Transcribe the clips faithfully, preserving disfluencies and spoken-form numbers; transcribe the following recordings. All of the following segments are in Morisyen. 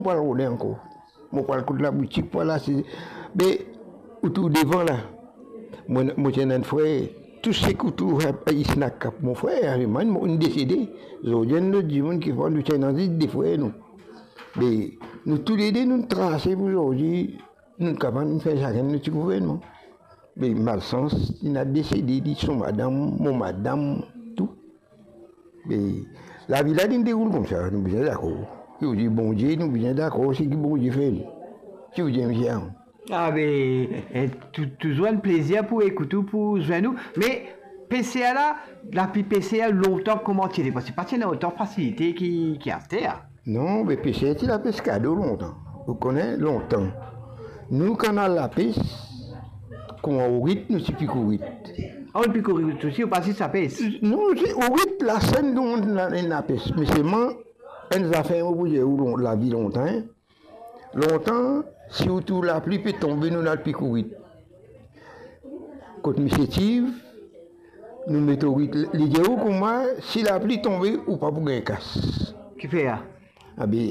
Mo pral rode ankor. Mo pral kot laboutik, pou al asize. Be, ou tou devan la. Mo, mo ti ena enn frer, tou seki ou trouv isi Nakap, mo frer, me mo, li desede. Zordi enn lot dimoun ki fer, nou ti ena zis de frer nou. Be, nou toulede, nou trase pou zordi, nou kapav nou fer sakenn nou ti gouvernman. Be, malsans, li ena desede, li, so madam, mo madam, tou. Be, lavi la, li deroul koumsa, nou bizin dakor. Ki ou dir Bondie, nou bizin dakor, seki Bondie fer li. Ki ou dir, misie? Ah, be, eh, tou-, touzour enn plezir pou ekout ou, pou zwenn ou. Me, P C A la, lapli P C A lontan, kouma ti ete? Parski pa ti ena otan fasilite ki, ki aster, a. Non, be, P C A ti lapes kado lontan. Ou kone, lontan. Nou, kan al lapes, kouma ourit, nou ti pik ourit. Ah, ou pik ourit osi, ou pa zis lapes? Non, se ourit, lasenn, nou, nou, nou lapes. Me selman, enn zafer, mo pou dir ou, lon-, lavi lontan, en. Lontan, si ou trouv lapli pe tonbe, nou al pik ourit. Kot misie Tiv, nou met ourit. Li dir ou kouma, si lapli tonbe, ou pa pou gagn kas. Kifer? Abe,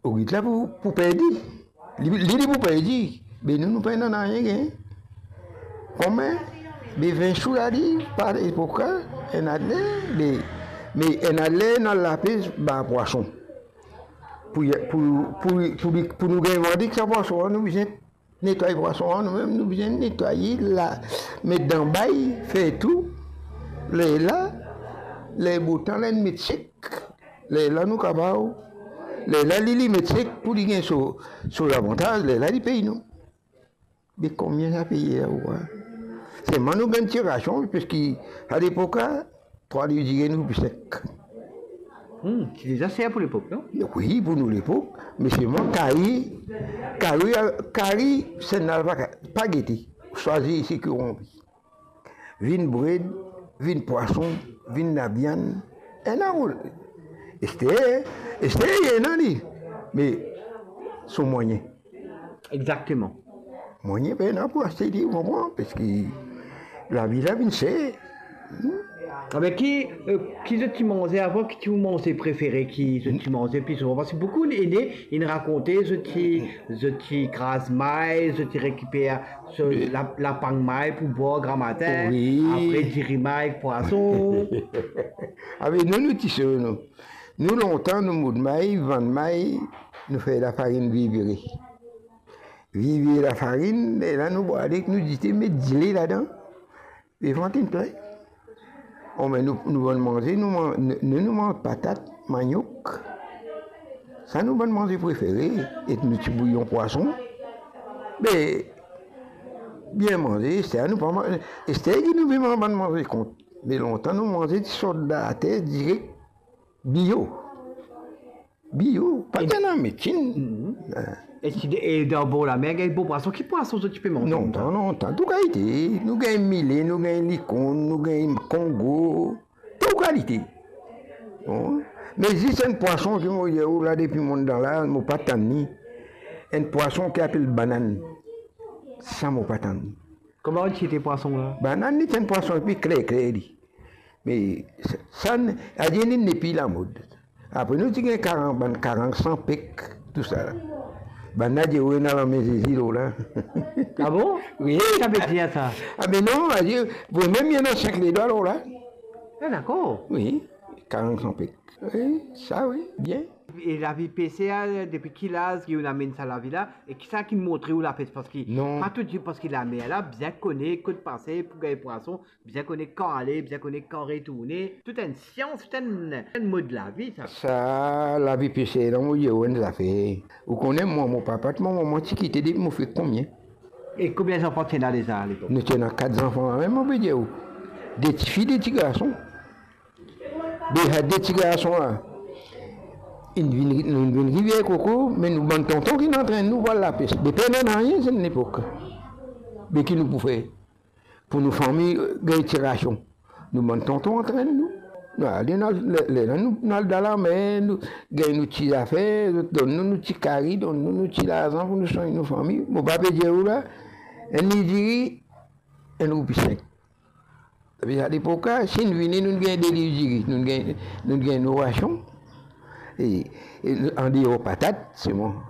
ourit la pou, pou perdi. Li, li, li pou perdi. Be nou, nou pena nanye gagn. Konbien? Be vin sou la li, pa lepok la, ena de, be, me ena de, nou al lapes, ba pwason. Pou, pou, pou, pou li, pou nou gagn vandi ek sa pwason, nou bizin netway pwason, nou mem, nou bizin netwaye la, met dan bay, fer tou. Lerla, ler botan la, li met sek. Lerla nou kapav, lerla li, li met sek pou li gagn so, so lavantaz, lerla li pey nou. Be konbien sa peye la, ou krwar? Selman nou gagn ti rasion, parski a lepok la, trwa liv diri nou pou sek. Hmm, ti deza ser pou lepok, non? Wi, pou nou lepok, me selman kari, kari, kari, sennla pa, pa gete, swazir seki ou anvi. Vinn bred, vinn pwason, vinn laviann, ena ou. Ester, ester ena li, me so mwayin. Exakteman. Mwayin pena pou aste li, ou konpran, parski lavi la vinn ser. Hmm. Abe ki, eh, ki zot ti manze avan, ki ti ou manze prefere, ki zot ti manze pli souvan? Parski boukou ene, inn rakonte, zot ti, zot ti kraz may, zot ti rekiper so, lapagn may pou bwar gramatin, wi, apre diri may ek pwason. Abe nou, nou ti so, nou. Nou lontan, nou moud may, vann may, nou fer lafarinn vivire. Vivire lafarinn, lerla nou bwar li ek nou dite, met dile ladan. Be vant inn plen. Oh, me nou, nou bann manze, nou man-, nou, nou, nou manz patat, maniok. Sa nou bann manze prefere, ek nou ti bouyon pwason. Be, bien manze, ester nou pa man-, ester ki nou pe manz bann manze kont. Me lontan nou manze ti sort dan later direk, bio. Bio, pa ti ena medsin. Mhm. Eh. E ti, e dan bor lamer, gagn bon pwason. Ki pwason zot ti pe manze? Non, lontan, lontan, tou kalite. Nou gagn mile, nou gagn likorn, nou gagn kongo, tou kalite. Bon. Me zis enn pwason ki mo dir ou la, depi mo dan la, mo pa tann li. Enn pwason ki apel banann. Sa mo pa tann li. Kouma ti ete pwason la? Banann, li ti enn pwason epi kler, kler li. Me sa, sa, adir li nepli lamod. Apre nou ti gagn karang, bann karang san pek, tousala. Bannla dir ou ena lame Zezi lor la. Ah bon? Wi. Ki sa ve dir sa? Ah, me non, adir, vremem, li ena sink ledwa lor la. Ah, dakor. Wi, karang san pek. Wi, sa wi, bien. E lavi pese a, depi ki laz ki ou amenn sa lavi la? E kisa ki montre ou lapes? Parski non, pa tou dir, parski lamer la, bizin kone kot pase pou gagn pwason, bizin kone kan ale, bizin kone kan retourne. Tou enn sians, tou enn, enn mod lavi, sa. Sa lavi pese la, mo dir ou enn zafer. Ou kone mwa, mo papa, mo mama ti kite depi mo fek konbien? E konbien zanfan ti ena deza alepok? Nou ti ena kat zanfan, lamem mo pe dir ou. De tifi, de tigarson. Be sa de tigarson la, inn vinn, nou vinn Rivier Koko, me nou bann tonton ki inn antrenn nou pou al lapes. Be pena nanye sa lepok. Be ki nou pou fer? Pou nou fami, eh, gagn ti rasion. Nou bann tonton antrenn nou. Nou ale, nou al, le, le, nou, nou al dan lamer, nou gagn nou ti zafer, zot donn nou, nou ti kari, donn nou, nou ti larzan pou nou swagn nou fami. Mo pa pe dir ou la, enn li diri, enn roupi sink. Epi alepok la, si nou vini, nou gagn de liv diri, nou gagn, nou gagn nou rasion. E, e andeor patat, selman,